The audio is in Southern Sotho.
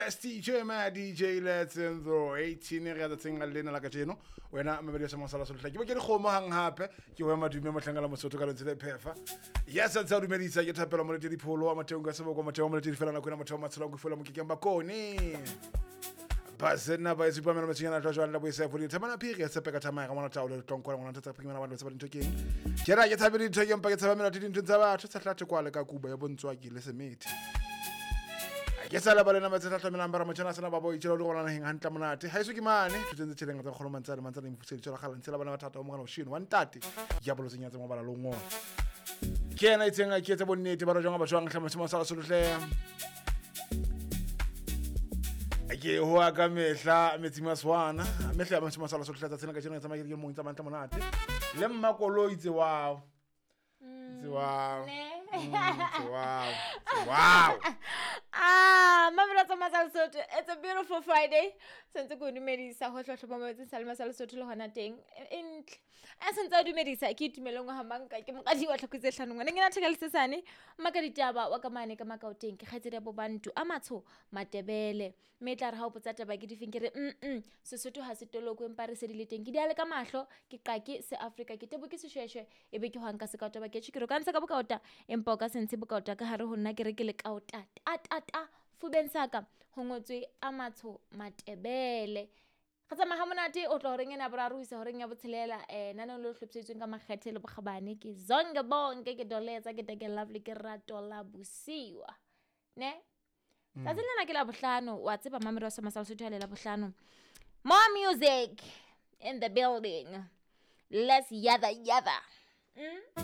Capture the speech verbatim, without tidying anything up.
S T J ma D J Letsenzo eighteen re tsatsing lena la kajeno wena mabedi sa masala sotlhe ke bo ke dikgomo hang hape ke wa madume mohlangala Mosotho ka lentswe le phefa yes a tsa dumedisa ke thapelo mo le dipholo wa motheong ka seboko motheo mo le fela nako ena motheo matshelo go fola mokekeng bakone basena ba itse pamela motsinyana tla jwang la boisa fo dithamana phiri ya tshepe ka thamaya ka ngwana taolo le tlonkwa ngwana tsa phiri ngwana ba dintho keng ke ra ke tshabe dintho ke mpa ke tshaba mela dintho tsa batho tsa hlathe kwale ka kuba ya bontswa ke le semethe ke sa le balena matse tla bara motjhana sena ba bo itjela le gona naheng hantle monate ha iso ke mane thuteng tse tšheleng tsa kgolo mantsane mantsane mfusedi tsela gala ntse la bana ba thata o mogana o shino wa ntate ya bolo tsenya tse mo bala longwe ke ena itseng a ke tse bonnete ba re jwang ba jwang hle motho sala solohle ke hoa ka mehla metsi maswana mehla ya motho sala solohle tsa tsena ka tjena tsamaya ke mong tsa mantle monate le mmakoloi tse wow tse wow tse wow wow. Ah, mamela tsa Masala Sotho. It's a beautiful Friday. Sentse ko dumedisa ho hlohlo ba metse sa le Masala Sotho le hona teng. E ntle. A sentse a dumedisa ke itumeleng wa manka ke moqadi wa tlhoko tse hlano ngwana ngena theka lesesane. Maka ditaba wa ka mane ka makaoteng ke kgaitsedi ya bobantu a matsho Matebele. Mme tla re ha o botsa taba ke difeng ke re mm mm Sesotho ha se toloko empa re se di le teng. Ke diale ka mahlo ke qake se Afrika ke tebo ke seshweshwe e be ke hwanka se ka taba ke tjhe ke re ka ntsha ka bokaota empa o ka se ntshe bokaota ka hare ho nna ke re ke le kaota ta ta ta fubeng saka ho ngotswe a matsho Matebele. Re tsamaya ha monate o tla horeng ena boraro ho isa horeng ya botshelela eh nana le hlophisitsweng ka makgethe le bokgabane ke Zonke Bonke ke doletsa ke take lovely ke rato la bosiwa ne tsatsi lena ke la bohlano wa tseba mamelo wa Masala Sotho le la bohlano. More music in the building, let's yada yada mm?